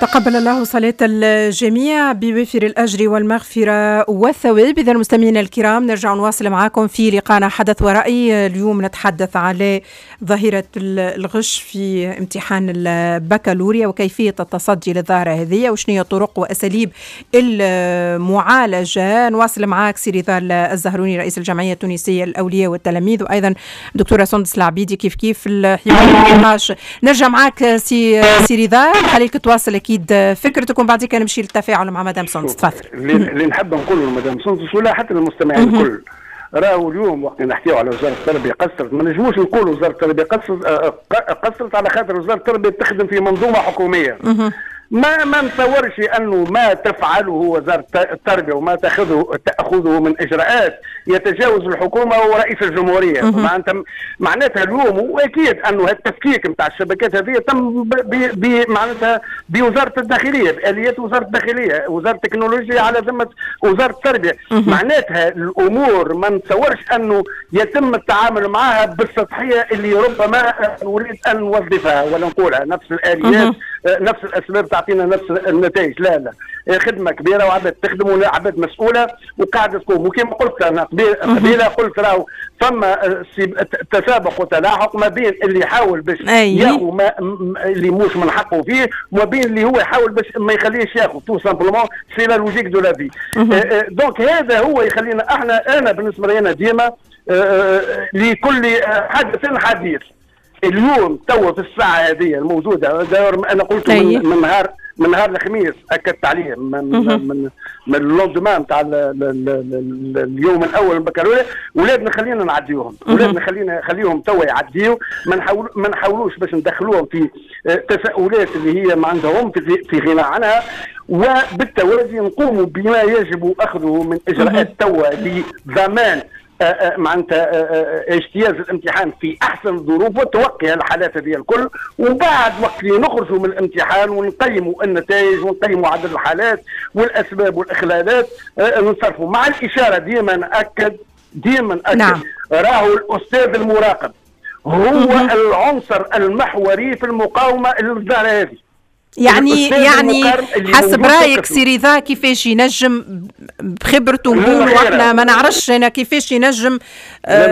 تقبل الله صلاة الجميع بوافر الأجر والمغفرة والثواب. إذا المستمعين الكرام، نرجع نواصل معكم في لقاءنا حدث ورأي. اليوم نتحدث على ظاهرة الغش في امتحان البكالوريا وكيفية التصدي للظاهرة هذه وشنو هي طرق وأساليب المعالجة. نواصل معك سي رضا الزهروني، رئيس الجمعية التونسية للأولياء والتلاميذ، وأيضا دكتورة سندس العبيدي، كيف كيف الحوار النقاش. نرجع معك سي رضا، خليك تواصل اكيد فكرتك ومن بعد نمشي للتفاعل مع مدام سندس، تفضل. اللي نحب نقوله لمدام سندس ولا حتى للمستمعين الكل، راهو اليوم وقت نحكيو على وزارة التربية قصرت، ما نجموش نقولوا وزارة التربية قصرت على خاطر وزارة التربية تخدم في منظومة حكوميه. ما نتصورش انه ما تفعله وزارة التربية وما تاخذه من اجراءات يتجاوز الحكومة ورئيس الجمهوريه. معناتها اليوم واكيد انه التفكيك نتاع الشبكات هذه تم معناتها بوزارة الداخليه، باليات وزارة الداخليه، وزارة التكنولوجيا على ذمه وزارة التربيه. معناتها الامور ما نتصورش انه يتم التعامل معها بالسطحيه اللي ربما نريد ان نوظفها ولا نقولها نفس الاليات، نفس الاسباب تعطينا نفس النتائج. لا لا، خدمة كبيرة وعباد تخدم وعباد مسؤولة وقاعدة تقوم. وكما قلت انا قبيله، قلت راهو فما تسابق وتلاحق ما بين اللي يحاول باش ياخذ ما اللي مش من حقه فيه وما بين اللي هو يحاول باش ما يخليش ياخذ. tout simplement، c'est la logique de la vie. donc هذا هو يخلينا احنا، انا بالنسبة لي انا ديما لكل حدث حديث. اليوم توا في الساعة هذه الموجوده، انا قلت من نهار الخميس، اكدت عليه من ال lendemain نتاع اليوم الاول البكالوريا، ولادنا خلينا نعديوهم، ولادنا خليهم توا يعديو. ما نحاولوش باش ندخلوهم في تساؤلات اللي هي ما عندهم في غنى عنها، وبالتوازي نقوم بما يجب اخذه من اجراءات توا لضمان معناتها اجتياز الامتحان في احسن الظروف وتوقي الحالات هذه الكل. وبعد وقت اللي نخرجوا من الامتحان ونقيموا النتائج ونقيموا عدد الحالات والاسباب والاخلالات نصرفوا. مع الاشاره، ديما ناكد، ديما ناكد، راهو الاستاذ المراقب هو العنصر المحوري في المقاومة للظاهره هذه. يعني حسب رايك سي رضا، كيفاش ينجم بخبرته، نقولوا احنا ما نعرفش انا كيفاش ينجم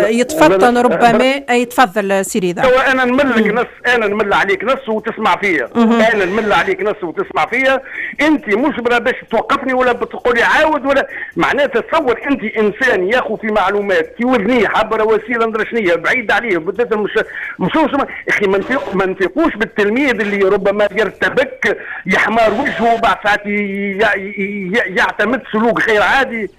يتفطن ربما؟ يتفضل سي رضا. هو انا نملك نص، انا نمل عليك نص وتسمع فيا، انا نمل عليك نص وتسمع فيا، انت مجبرة باش توقفني ولا بتقولي عاود ولا معناتها. تصور انت انسان ياخذ في معلومات كي وذنيه عبر وسيلة ندري شنية بعيد عليه بالذات، مش اخي ما نفيقوش بالتلميذ اللي ربما يرتبك، يحمر وجهه، بعد ساعات يعتمد سلوك غير عادي.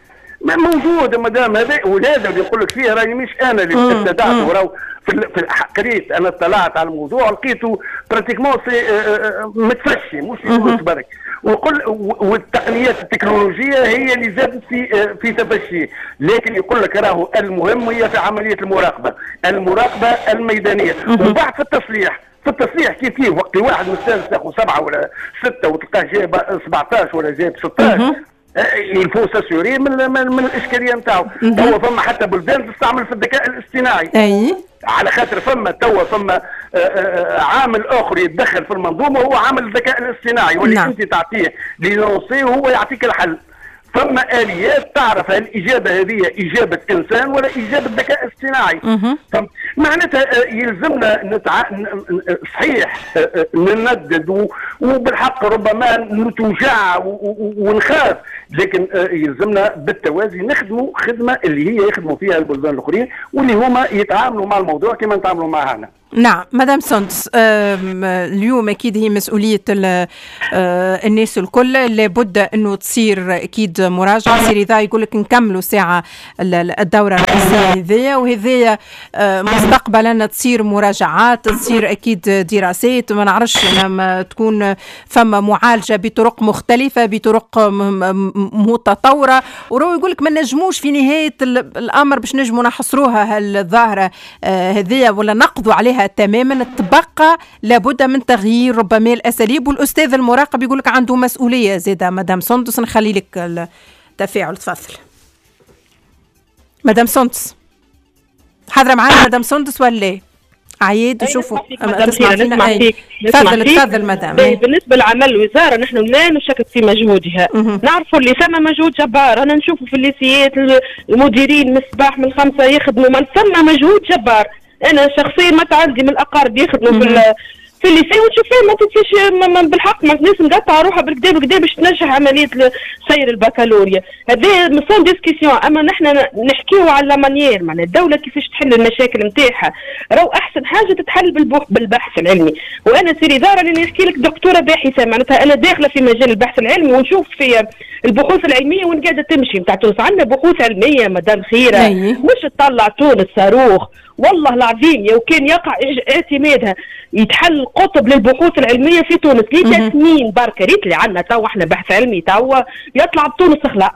ما موجود مادام هذا، وهذا اللي يقول لك فيه راني مش انا اللي ابتدعته، راهو في قريت انا، اطلعت على الموضوع لقيته pratiquement c'est متفشي مش في تونس برك، وقل والتقنيات التكنولوجية هي اللي زادت في تفشي. لكن يقول لك راهو المهم هي في عملية المراقبه، المراقبة الميدانيه، وبعد في التصليح كيف كيف. وقت واحد مستانس ياخذ 7 ولا 6 وتلقاه جايب 17 ولا جايب 16، il faut s'assurer من الاشكالية نتاعو. توا فما حتى بلدان تستعمل في الذكاء الاصطناعي على خاطر فما توا فما عامل اخر يتدخل في المنظومه، هو عامل الذكاء الاصطناعي، واللي انت تعطيه l'énoncé وهو يعطيك الحل. فما اليات تعرف هل الاجابة هذه اجابه انسان ولا اجابه ذكاء اصطناعي. معناتها يلزمنا صحيح نندد وبالحق ربما نتوجع ونخاف، لكن يلزمنا بالتوازي نخدموا خدمة اللي هي يخدموا فيها البلدان الاخرين واللي هما يتعاملوا مع الموضوع كما نتعاملوا معه احنا. نعم مدام سندس، اليوم اكيد هي مسؤولية الناس الكل، لابد انه تصير اكيد مراجعه. سي رضا يقول لك نكملوا ساعة الدورة الرئيسية هذيا وهذيا، مستقبلا تصير مراجعات، تصير اكيد دراسات، ما نعرفش تكون فما معالجة بطرق مختلفه، بطرق متطوره. ورو يقول لك ما نجموش في نهاية الامر باش نجموا نحصروها هالظاهره هذيا ولا نقضوا عليها تماما، تبقى لابد من تغيير ربما الاساليب، والاستاذ المراقب يقول لك عنده مسؤولية زاده. مدام سندس، نخلي لك التفاعل، تفضل مدام سندس. حاضره معنا مدام سندس ولا؟ عياد نشوفوا تسمع فينا. تفضل تفضل مدام. بالنسبة لعمل الوزارة نحن لا نشكك في مجهودها، نعرفوا اللي ثم مجهود جبار، انا نشوفوا في الليسيات المديرين من الصباح من 5 يخدموا، ما ثم مجهود جبار. انا شخصيا ما عندي من الاقارب يخدموا في ال lycée وتشوف فيه ما تنساش بالحق ما الناس مقطعه روحها بالكدا بالكدا باش تنجح عملية سير البكالوريا، هذا sans discussion. اما نحن نحكيو على la manière، معناها الدولة كيفاش تحل المشاكل نتاعها، راهو احسن حاجة تتحل بالبحث العلمي. وانا سي رضا راني نحكي لك دكتورة باحثه، معناتها انا داخله في مجال البحث العلمي ونشوف في البحوث العلمية وين قاعدة تمشي نتاع تونس. عندنا بحوث علمية مدام خيره مش تطلع تونس صاروخ، والله العظيم لو كان يقع اعتمادها يتحل قطب للبحوث العلمية في تونس لتسنين بركة. ريت اللي عندنا توا احنا بحث علمي توا يطلع بتونس خلاص،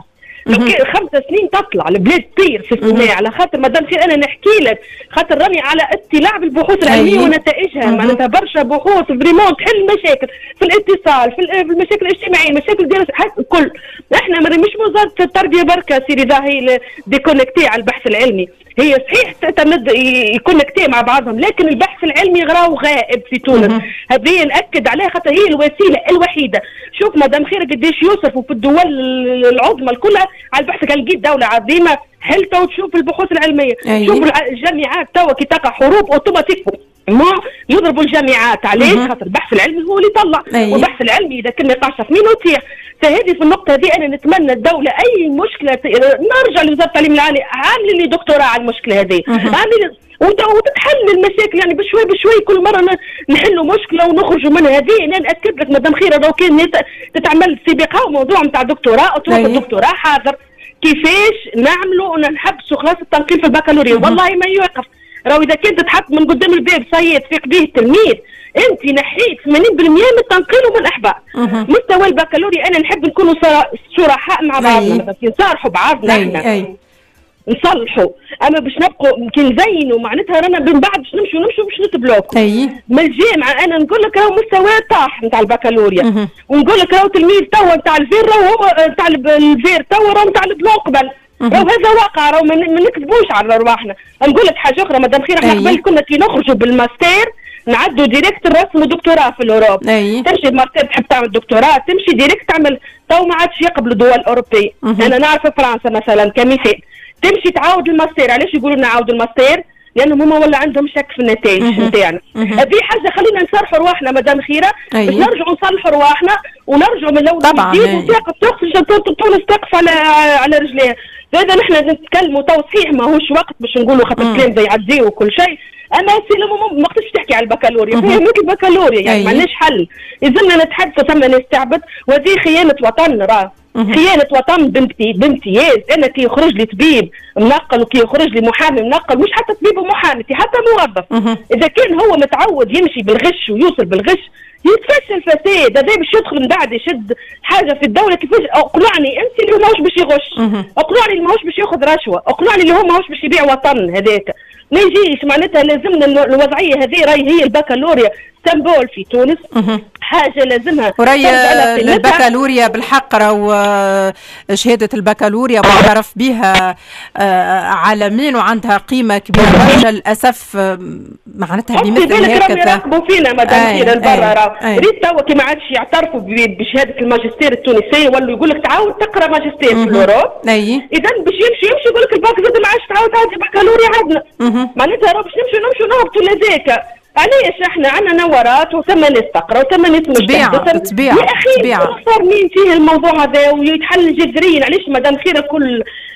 لو كان 5 سنين تطلع البلاد طير في الصناعة. على خاطر مادام خير انا نحكي لك خاطر راني على اطلاع بالبحوث العلمية ونتائجها، معناتها برشا بحوث vraiment تحل مشاكل في الاتصال، في المشاكل الاجتماعية، المشاكل ديال الكل. احنا مش وزارة التربية بركة سي رضا هي déconnectée على البحث العلمي، هي صحيح تعتمد ي connecté مع بعضهم، لكن البحث العلمي راهو غائب في تونس. هذه ناكد عليها خاطر هي الوسيلة الوحيدة. شوف مدام خير قداش يصرفوا في الدول العظمى كلها على البحث، كان لقيت دولة عظيمة حلتها وتشوف البحوث العلمية. شوف الجامعات توا كي تقع حروب اوتوماتيك ما يضربوا الجامعات. علاش؟ خاطر البحث العلمي هو اللي يطلع. والبحث العلمي اذا كان ما يقعش ثمين يطيح. فهذه في النقطة هذه انا نتمنى الدولة اي مشكلة نرجع لوزارة التعليم العالي عامله لي دكتوراه على المشكلة هذه، عامله وتتحل المشاكل يعني بشوي بشوي، كل مرة نحلوا مشكلة ونخرجوا منها. هذه انا ناكد لك مدام خيره لو كان تتعمل سابقه وموضوع نتاع دكتوراه تروح الدكتوراه حاضر كيفاش نعملوا نحبسوا خلاص التنقيل في البكالوريا. والله ما يوقف، راهو اذا كنت تتحط من قدام الباب صيد تفيق به التلميذ، انت نحيت 80% من التنقيل ومن الاحباط. مستوى البكالوريا انا نحب نكونوا صرحاء مع بعضنا، نصارحوا بعضنا احنا نصلحوا، اما باش نبقوا كي نزينوا معناتها رانا من بعد باش نمشوا باش نتبلوكوا. من الجامعة انا نقول لك راهو مستوى طاح نتاع البكالوريا، ونقول لك راهو تلميذ توا نتاع ال vert راهو هو نتاع ال vert توا راهو نتاع ال blanc قبل، راهو هذا واقع، راهو ما نكذبوش على رواحنا. نقول لك حاجة اخرى مدام خير، احنا قبل كنا كي نخرجوا بالماستر نعدوا direct الرسم دكتوراه في l'Europe. تمشي الماستر تحب تعمل دكتوراه تمشي direct تعمل، تو ما عادش يقبلوا الدول الاوروبية. انا نعرف فرنسا مثلا كمثال تمشي تعاود الماستر. علاش يقولوا لنا عاودوا الماستر؟ لانهم هما ولا عندهم شك في النتائج نتاعنا. هذه حاجة خلينا نصرحوا رواحنا مدام خيره باش نرجعوا نصلحوا رواحنا ونرجعوا من الاول جديد، وتقف تونس تقف على رجليها. هذا نحن نتكلموا تو صحيح ماهوش وقت باش نقولوا خاطر الكلام زي يعدي وكل شيء، اما c'est le moment ما وقتش تحكي على البكالوريا، فهمت البكالوريا يعني ما عندناش حل، لازمنا نتحدثوا ثم ناس تعبت، وهذه خيانة وطن، راه خيانة وطن بامتياز. انا كي يخرج لي طبيب منقل وكي يخرج لي محامي منقل، مش حتى طبيب ومحامي، حتى موظف، اذا كان هو متعود يمشي بالغش ويوصل بالغش يتفشل فساد، هذا باش يدخل من بعد يشد حاجة في الدولة. كيفاش اقنعني انت اللي هو ماهوش باش يغش، اقنعني اللي ماهوش باش ياخذ رشوة، اقنعني اللي هو ماهوش باش يبيع وطن، هذاك ما يجيش. معناتها لازمنا الوضعية هذه راهي هي البكالوريا symbole في تونس، حاجة لازمها. وراي البكالوريا بالحق راهو شهادة البكالوريا معترف بها عالميا وعندها قيمة كبيرة برشا. للاسف معناتها بمثل هكذا يراقبوا فينا مدام خير البرا، راه ريت توا كي ما عادش يعترفوا بشهادة الماجستير التونسية، ولوا يقول لك تعاود تقرا ماجستير في l'Europe. اذا باش يمشي يقول لك الباك زاد ما عادش تعاود تعدي بكالوريا عندنا. معناتها راه باش نمشوا نهبطوا لذاك. علاش احنا عندنا نورات وثم ناس تقرا وثم ناس مجتهدة؟ تبيع يا اخي صار مين فيه الموضوع هذا ويتحل جذريا. علاش مدام خيره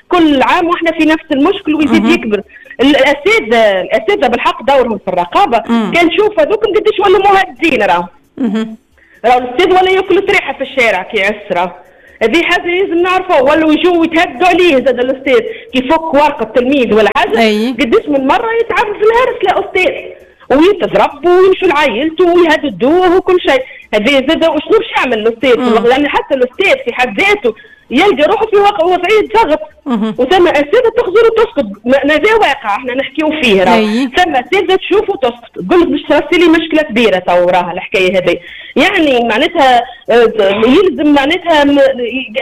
كل عام واحنا في نفس المشكل ويزيد يكبر؟ الاساتذة بالحق دورهم في الرقابة. كان شوف هذوك قداش ولاو مهددين، راهو الاستاذ ولا ياكل طريحه في الشارع كي يعس، هذه حاجة لازم نعرفوها. ولاو يجوا يتهدوا عليه زاد الاستاذ كي يفك ورقة التلميذ ولا حاجة. قداش من مرة يتعرض للهرس لا استاذ ويتضرب ويمشوا لعائلته ويهددوه وكل شيء. هذا زاد وشنو باش يعمل الاستاذ؟ لان حتى الاستاذ في حد ذاته يلقى روحه في وضعية ضغط، وثم اساتذة تخزر وتسكت، هذا واقع احنا نحكيو فيه. راه ثم اساتذة تشوف وتسكت، تقول لك باش ترسلي مشكلة كبيرة تو وراها الحكاية هذه. يعني معناتها يلزم معناتها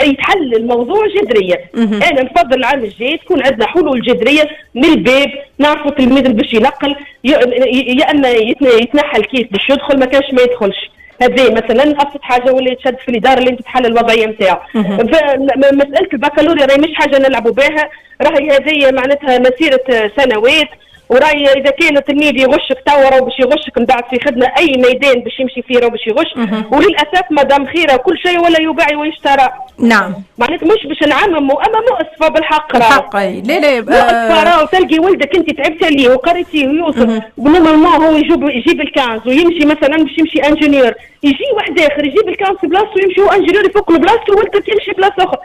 يتحل الموضوع جذريا. انا نفضل العام الجاي تكون عندنا حلول جذرية من الباب، نعرفوا التلميذ باش ينقل، يا اما يتنحى الكيس باش يدخل، ما كانش ما يدخلش. هذه مثلا ابسط حاجة، ولا يتشد في الادارة اللي تتحل الوضعية نتاعو. مسالة البكالوريا راهي مش حاجة نلعبوا بها، راهي هذه معناتها مسيره سنوات، وراي اذا كان التلميذ يغشك توا راهو باش يغشك من بعد في خدمة، اي ميدان باش يمشي فيه راهو باش يغش. وللاسف مدام خيره كل شيء ولا يباع ويشترى. نعم معناتها مش باش نعمموا، اما مؤسفة بالحق راهو. بالحق لا لا مؤسفة راهو تلقي ولدك انت تعبت عليه وقريتيه ويوصل و normalement هو يجيب ال 15 ويمشي مثلا باش يمشي ingénieur، يجي واحد اخر يجيب ال 15 بلاصته ويمشي هو ingénieur يفك له بلاصته وولدك يمشي بلاصة اخرى.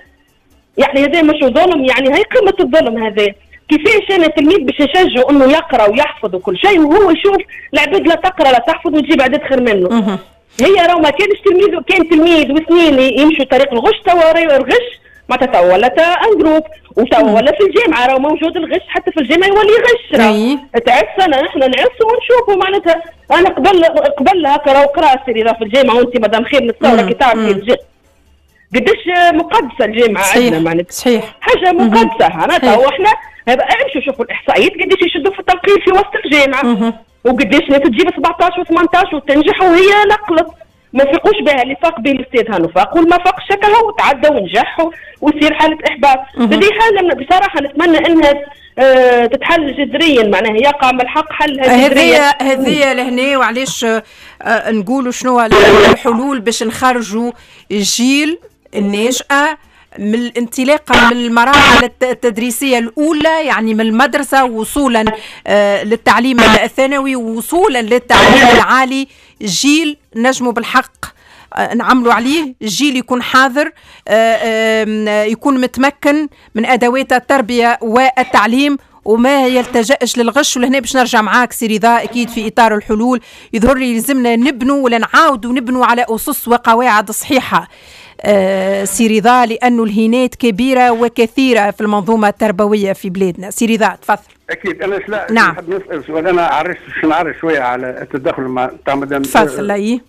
يعني هذا مش ظلم، يعني هي قمة الظلم هذا. كيفاش انا التلميذ باش نشجعه انه يقرا ويحفظ وكل شيء، وهو يشوف العباد لا تقرا لا تحفظ وتجيب عدد خير منه. هي راهو ما كانش تلميذ، كان تلميذ واثنين يمشوا طريق الغش، توا الغش معناتها توا ولا en groupe، وتوا ولا في الجامعة راهو موجود الغش، حتى في الجامعة يولي يغش. راهو تعس انا نحن نعس ونشوفوا معناتها. انا قبل هكا راهو قرا سيري في الجامعة، وانت مدام خير نتصور كي تعرفي قداش مقدسة الجامعة عندنا معناتها. صحيح حاجة مقدسة معناتها. واحنا امشوا شوفوا الاحصائيات قداش يشدوا في التنقيل في وسط الجامعة، وقداش ناس تجيب 17 و18 وتنجح وهي نقلت، ما فيقوش بها. اللي فاق به الاستاذ هانو فاق، والما فاقش هكا وتعدى ونجح ويصير حاله احباط. هذه حاله بصراحة نتمنى انها تتحل جذريا، معناها يقع من الحق حلها جذريا. هذه لهنا. وعلاش نقولوا شنو الحلول باش نخرجوا الجيل الناشئة من الانطلاقة من المراحل التدريسية الأولى، يعني من المدرسة وصولا للتعليم الثانوي ووصولا للتعليم العالي، جيل نجموا بالحق نعملوا عليه، جيل يكون حاضر، يكون متمكن من أدوات التربية والتعليم وما يلتجأش للغش. ولهنا باش نرجع معاك سي رضا، اكيد في اطار الحلول يظهر لي لازمنا نبنوا ولا نعاودوا نبنوا على اسس وقواعد صحيحه سي رضا، لانه الهينات كبيرة وكثيره في المنظومة التربوية في بلادنا. سي رضا تفضل. اكيد انا لا نعم. نحب نسال سؤال، انا عرفت نعرف شوية على التدخل مع تاع مدام. تفضل. اي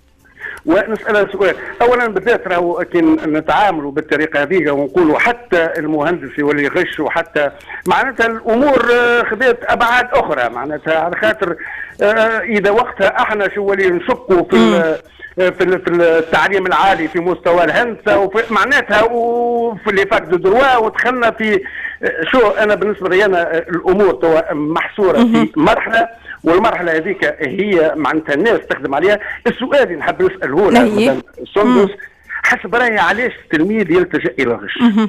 ونسألها سؤال. اولا بالذات راهو كي نتعاملوا بالطريقة هذيك ونقولوا حتى المهندس يولي يغش، وحتى معناتها الامور خذت ابعاد اخرى، معناتها على خاطر اذا وقتها احنا شو ولي نشكوا في التعليم العالي في مستوى الهندسة وفي معناتها وفي les facs de droit، ودخلنا في شو. انا بالنسبة لي انا الامور توا محصورة في مرحلة، والمرحلة هذيك هي معناتها الناس تخدم عليها. السؤال اللي نحب نساله لها مدام سندس، حسب رايي علاش التلميذ يلتجئ الى الغش؟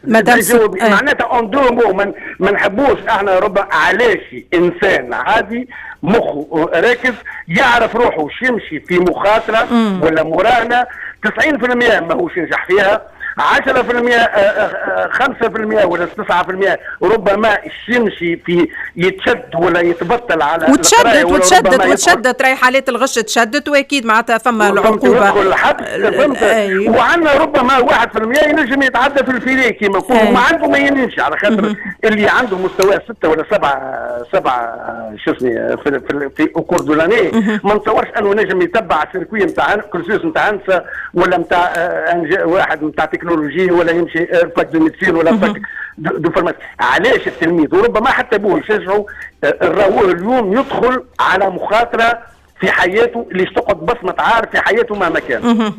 مدام معناتها en deux mots ما نحبوش احنا ربما علاش انسان عادي مخه راكز يعرف روحه وش يمشي في مخاطره ولا مراهنه 90% ماهوش ينجح فيها، 10% 5% ولا 9% ربما يمشي في يتشد ولا يتبطل على وتشدد وتشدد وتشدد، راهي حالات الغش تشدد، واكيد معناتها فما العقوبة وعندنا ربما 1% ينجم يتعدى في ال filet كيما نقولوا، ما عنده ما ينجمش على خاطر اللي عنده مستوى 6 ولا 7 شو اسمه في au cours de l'année، ما نتصورش انه نجم يتبع circuit نتاع cursus نتاع هندسة ولا نتاع واحد نتاع تكنولوجي ولا يمشي fac de médecine ولا fac de pharmacie. علاش التلميذ وربما حتى ابوه يشجعه الراوه اليوم يدخل على مخاطره في حياته اللي تقعد بصمة عار في حياته مهما كان؟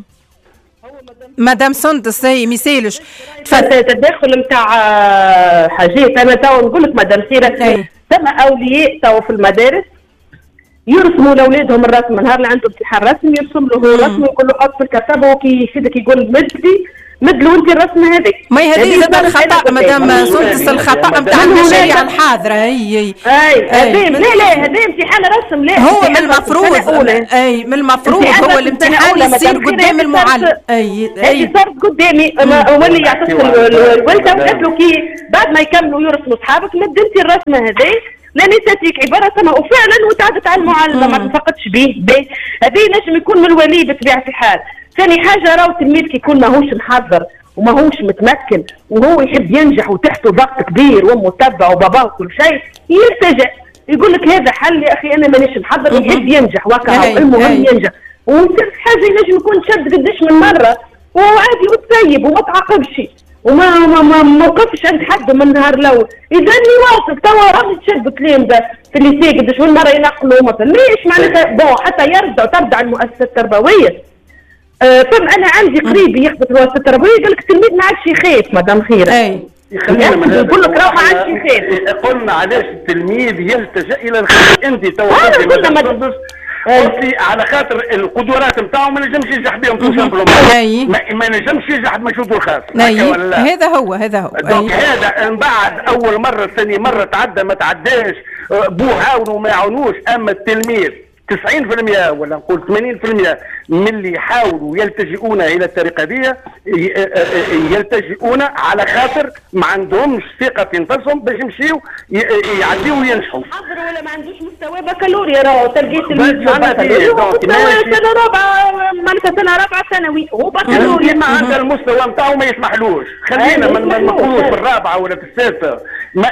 مدام سندس ما يسالش التدخل نتاع حاجات. انا تو نقول لك مدام سيره، ثم اولياء تو في المدارس يرسموا لاولادهم الرسم، نهار اللي عنده امتحان رسم يرسم له الرسم ويقول له حط في الكتاب، وكي يفيدك يقول مدلي مدلو انت الرسم هذاك. ما هذه زاد الخطا مدام سندس، الخطا نتاع المشاريع الحاضرة. اي اي لا لا هذا امتحان رسم، لا هو من المفروض، اي من المفروض هو الامتحان يصير قدام المعلم. اي اي صارت قدامي ولي يعطيك الولده وقالت له كي بعد ما يكملوا يرسموا صحابك مد انت الرسمة هذه لاني تاتيك عبارة سما، وفعلا وتعدت على المعلمة ما تفقدش به. هذا ينجم يكون من الولي بطبيعة الحال. ثاني حاجة راهو التلميذ كي يكون ماهوش محضر وماهوش متمكن وهو يحب ينجح وتحته ضغط كبير وامه تبعه وباباه وكل شيء، يلتجئ يقول لك هذا حل يا اخي انا مانيش محضر، يحب ينجح وكا المهم ينجح. وصرت حاجة ينجم يكون شد قداش من مرة وعادي وتسيب وما تعاقبش وما ما ما ما وقفش عند حد من النهار الاول. اذا يواصل توا راهم تشد تلامذه في ال lycée قداش من مرة ينقلوا ما فماش معناتها bon حتى يرجعوا ترجع المؤسسة التربوية. فم انا عندي قريبي يخدم في المؤسسة التربوية قال لك التلميذ ما عادش يخاف مدام خيره. اي يقول لك راه ما عادش يخاف. قلنا علاش التلميذ يلتجئ الى الخير. انت توا قلت على خاطر القدرات نتاعو ما نجمش ينجح بهم tout simplement، ما نجمش ينجح بمجهوده الخاص. هذا هو هذا هو. donc هذا من بعد اول مرة ثاني مرة تعدى ما تعداش، بوه عاونوا ما يعاونوش. اما التلميذ 90% ولا نقول 80% من اللي يحاولوا يلتجئون الى الطريقة دي يلتجئون على خاطر ما عندهمش ثقة في نفسهم باش يمشيو يعديو وينجحوا. حضروا ولا ما عندوش مستوى بكالوريا راهو تلقيت مستوى سنة رابعه معناتها سنة رابعه ثانوي هو بكالوريا ما عندها المستوى نتاعو ما يسمحلوش. خلينا ما نقولوش في الرابعة ولا في السادسة،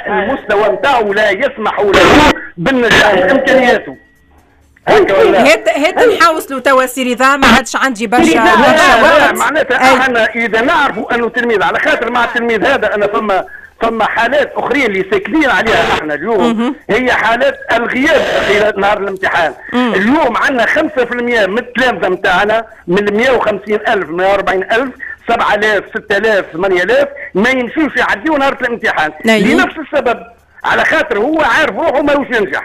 المستوى نتاعو لا يسمح له بالنجاح بامكانياته. هات نحوصلوا توا سي رضا، ما عادش عندي برشا وقت. معناتها احنا اذا نعرفوا انه تلميذ على خاطر مع التلميذ هذا انا فما حالات اخرين اللي ساكنين عليها احنا اليوم، هي حالات الغياب خلال نهار الامتحان. اليوم عندنا 5% من التلامذه نتاعنا من 150,000 140,000 7000 6000 8000 ما يمشوش يعديوا نهار الامتحان لنفس السبب، على خاطر هو عارف روحه ماهوش ينجح.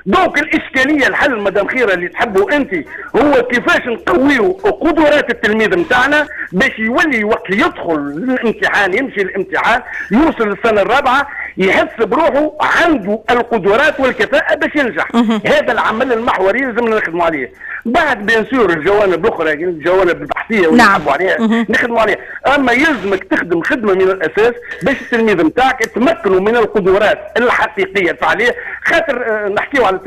donc الاشكالية الحل مدام خيره اللي تحبه انت هو كيفاش نقويو قدرات التلميذ نتاعنا باش يولي وقت يدخل الامتحان يمشي الامتحان يوصل للسنة الرابعة يحس بروحه عنده القدرات والكفاءة باش ينجح. هذا العمل المحوري لازم نخدموا عليه. بعد bien sûr الجوانب الاخرى الجوانب البحثية واللي نحبوا عليها نخدموا عليها، اما يلزمك تخدم خدمة من الاساس باش التلميذ نتاعك تمكنوا من القدرات الحقيقية الفعلية. خاطر نحكيو على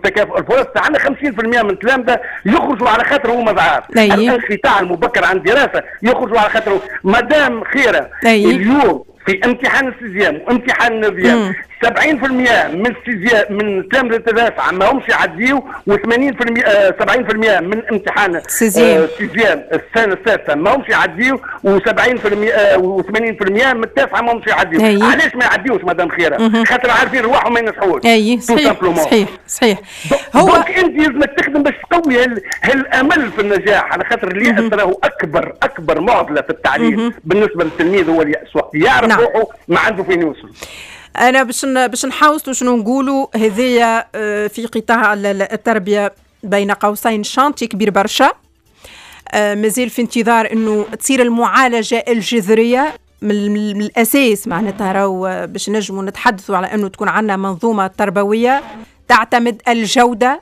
تكافؤ الفرص، عندنا 50% من التلامذه يخرجوا على خاطر هما ضعاف، الانقطاع المبكر عن الدراسة يخرجوا على خاطر مدام خيره. اليوم في امتحان ال sixième وامتحان ال neuvième 70% من ال sixième من التلامذه التاسعة ما همش يعديو، و80% 70% من امتحان ال sixième السنة السادسة ما همش يعديو، و70% و80% من التاسعة ما همش يعديو. علاش ما يعديوش مدام خيره؟ خاطر عارفين رواحهم ما ينجحوش. اي صحيح صحيح صحيح. هو donc انت لازمك تخدم باش تقوي هالامل في النجاح، على خاطر اليأس راهو اكبر معضلة في التعليم بالنسبة للتلميذ هو اليأس، وقت يعرف روحه ما عنده فين يوصل. أنا باش نحاوصلوا شنو نقولوا هذايا في قطاع التربية بين قوسين chantier كبير برشا، مازال في انتظار أنه تصير المعالجة الجذرية من الأساس. معناتها راهو باش نجموا نتحدثوا على أنه تكون عندنا منظومة تربوية تعتمد الجودة،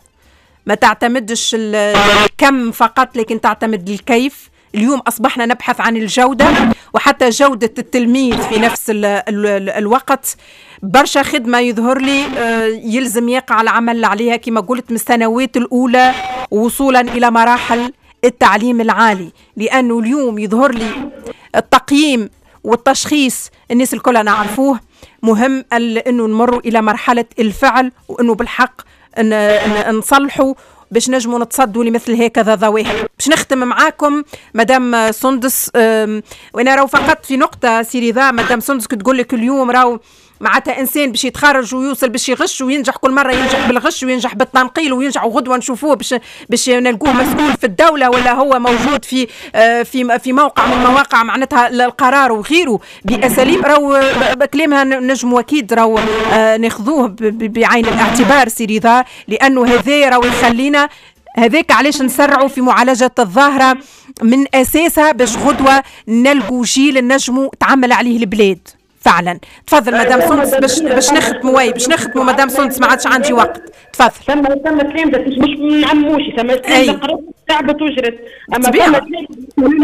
ما تعتمدش الكم فقط لكن تعتمد الكيف. اليوم أصبحنا نبحث عن الجودة وحتى جودة التلميذ في نفس الوقت. برشا خدمة يظهر لي يلزم يقع العمل عليها كما قلت من السنوات الأولى وصولا إلى مراحل التعليم العالي، لأنه اليوم يظهر لي التقييم والتشخيص الناس الكل نعرفوه، مهم أنه نمر إلى مرحلة الفعل وأنه بالحق نصلحوا باش نجموا نتصدوا لمثل هكذا ظواهر. باش نختم معاكم مدام سندس، وانا راهو فقط في نقطة سي رضا، مدام سندس كنت تقول لك اليوم راهو معناتها انسان باش يتخرج ويوصل باش يغش وينجح، كل مرة ينجح بالغش وينجح بالتنقيل وينجح، وغدوه نشوفوه باش نلقوه مسؤول في الدولة ولا هو موجود في في في موقع من مواقع معناتها القرار وغيره باساليب راهو كلامها نجم اكيد راهو ناخذوه بعين الاعتبار سي رضا، لانه هذا راهو يخلينا هذاك علاش نسرعوا في معالجة الظاهرة من اساسها باش غدوه نلقوا جيل نجموا تعمل عليه البلاد فعلا. تفضل مدام سندس باش نختموا، oui باش نختموا مدام سندس ما عادش عندي وقت. تفضل. ثم تلامذة مش من عموشي، ثم تلامذة قرات تعبت وجرت، اما ثم تلامذة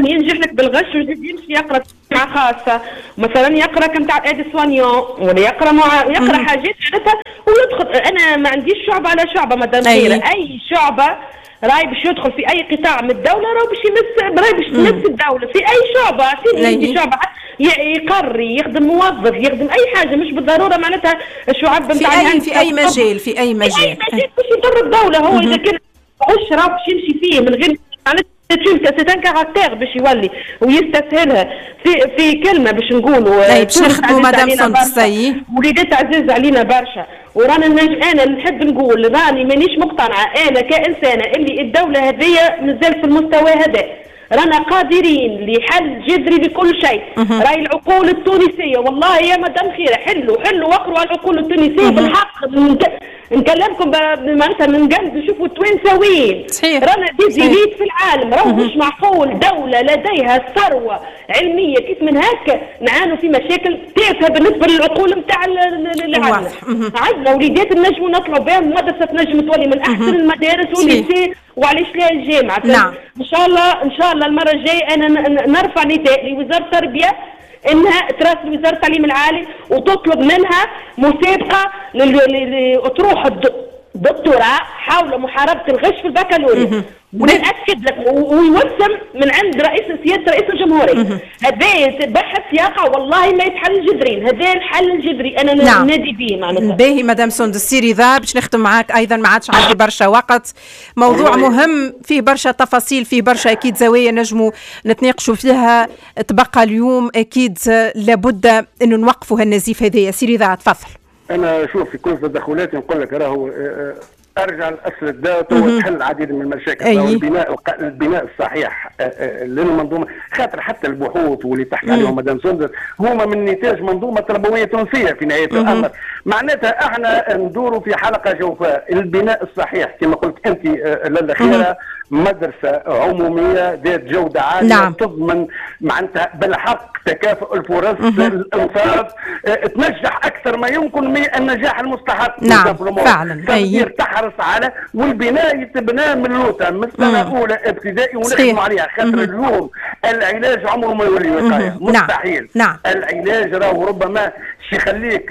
ينجح لك بالغش ويزيد يمشي يقرا مع خاصة، مثلا يقرا كنتاع aide-soignant ولا يقرا يقرا حاجات معناتها ويدخل. انا ما عنديش شعبة على شعبة مدام خيرة، اي شعبة راي باش يدخل في اي قطاع من الدولة راهو باش يمس، راي باش تمس الدولة في اي شعبه، اعطيني انت شعبه يقري يخدم موظف يخدم اي حاجة، مش بالضرورة معناتها الشعب نتاع في اي مجال، في اي مجال، في اي مجال باش يضر الدولة. هو اذا كان غش راه باش يمشي فيه من غير c'est un caractère باش يولي ويستسهلها في كلمة باش نقولوا. باش نخدموا مدام سندس، وليدات عزيز علينا برشا، ورانا انا نحب نقول راني مانيش مقتنعة انا كانسانه اللي الدولة هذيا مازال في المستوى هذا. رانا قادرين لحل جذري لكل شيء. راي العقول التونسية والله يا مدام خيره، حلوا واقروا على العقول التونسية بالحق. نكلمكم معناتها من قلب، شوفوا التوانسة وين رانا des élites في العالم. راهو مش معقول دولة لديها ثروة علمية كيف من هكا نعانوا في مشاكل تافهة بالنسبة للعقول نتاع العالم. عندنا وليدات نجموا نطلعوا بهم، مدرسه تنجم تولي من احسن المدارس وال lycée، وعلاش لا الجامعة. نعم. ان شاء الله ان شاء الله المرة الجاية انا نرفع نداء لوزارة التربية انها تراسل وزارة التعليم العالي وتطلب منها مسابقة لأطروحة دكتوراه حول محاربة الغش في البكالوريا. ونأكد لك ويوسم من عند رئيس سيادة رئيس الجمهورية. هذا بحث يقع والله ما يتحل جذريا، هذا الحل الجذري انا نادي به معناتها. باهي مدام سندس سي رضا، باش نختم معاك ايضا، ما عادش عندي برشا وقت. موضوع مهم فيه برشا تفاصيل، فيه برشا اكيد زوايا نجموا نتناقشوا فيها. تبقى اليوم اكيد لابد انه نوقفوا هالنزيف هذايا. سي رضا تفضل. انا شوف في كل تدخلاتي نقول لك راهو ارجع لاصل الداء وتحل العديد من المشاكل. البناء الصحيح للمنظومة، خاطر حتى البحوث واللي تحكي عليهم مدام سندس هما من نتاج منظومة تربوية تونسية في نهاية الامر. معناتها احنا ندوروا في حلقة جوفاء. البناء الصحيح كما قلت انت لاله خيره، مدرسه عموميه ذات جوده عالية. نعم. تضمن معناتها بالحق تكافؤ الفرص، الانصاف، تنجح اكثر ما يمكن من النجاح المستحق. نعم فعلا. تحرص على والبناء يتبنى من لوطه من السنة الاولى ابتدائي ونخدموا عليها، خاطر اليوم العلاج عمره ما يولي وقاية. مستحيل. نعم. العلاج راهو ربما يخليك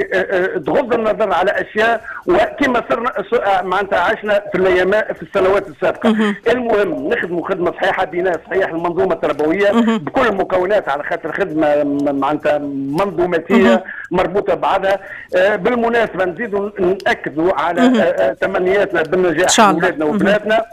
تغض النظر على اشياء، وكما صرنا معناتها عشنا في الايام في السنوات السابقة. المهم نخدموا خدمة صحيحه، بناء صحيح المنظومة التربوية بكل مكوناتها، على خاطر خدمة معناتها منظوماتيه مربوطة ببعضها. بالمناسبة نزيدوا ناكدوا على تمنياتنا بالنجاح لاولادنا وبناتنا.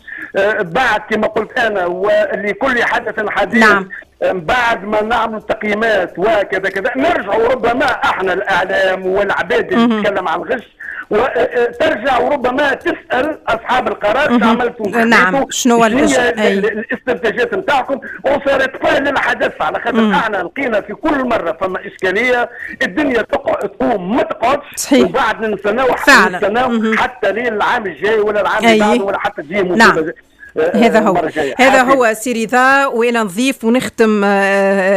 بعد كما قلت انا ولكل حدث حديث. نعم. بعد ما نعمل تقييمات وكذا كذا نرجعوا ربما احنا الاعلام والعباد اللي تتكلم عن الغش وترجع وربما تسال اصحاب القرار عملتوا. نعم. شنو الاستنتاجات نتاعكم، وصارت فعلا للحدث، على خاطر احنا لقينا في كل مرة فما اشكالية، الدنيا تقوم ما تقعدش، وبعد نستناو حتى لين العام الجاي ولا العام اللي بعده ولا حتى تجي. نعم. هذا هو هذا هو سي رضا. وانا نضيف ونختم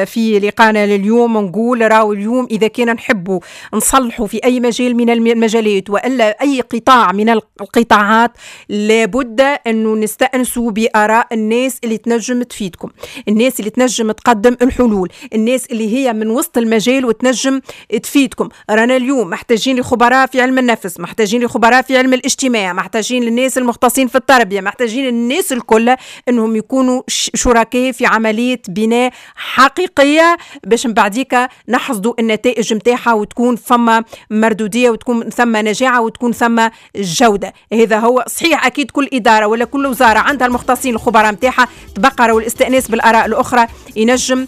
في لقانا لليوم، نقول راهو اليوم اذا كان نحبوا نصلحوا في اي مجال من المجالات والا اي قطاع من القطاعات، لابد انه نستانسوا باراء الناس اللي تنجم تفيدكم، الناس اللي تنجم تقدم الحلول، الناس اللي هي من وسط المجال وتنجم تفيدكم. رانا اليوم محتاجين لخبراء في علم النفس، محتاجين لخبراء في علم الاجتماع، محتاجين للناس المختصين في التربية، محتاجين الناس الكل انهم يكونوا شركاء في عملية بناء حقيقية باش من بعديك نحصدوا النتائج نتاعها وتكون فما مردوديه وتكون ثم نجاعه وتكون ثم جوده. هذا هو صحيح. اكيد كل ادارة ولا كل وزارة عندها المختصين الخبراء نتاعها، تبقى والاستئناس بالاراء الاخرى ينجم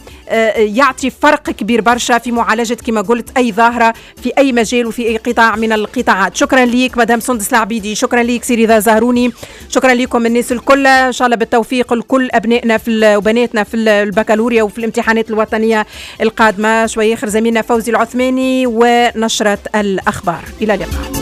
يعطي فرق كبير برشا في معالجة كما قلت اي ظاهره في اي مجال وفي اي قطاع من القطاعات. شكرا ليك مدام سندس العبيدي، شكرا ليك سي رضا زهروني، شكرا لكم الناس الكل. ان شاء الله بالتوفيق لكل ابنائنا في وبناتنا في البكالوريا وفي الامتحانات الوطنية القادمة. شوية اخر زميلنا فوزي العثماني ونشره الاخبار. الى اللقاء.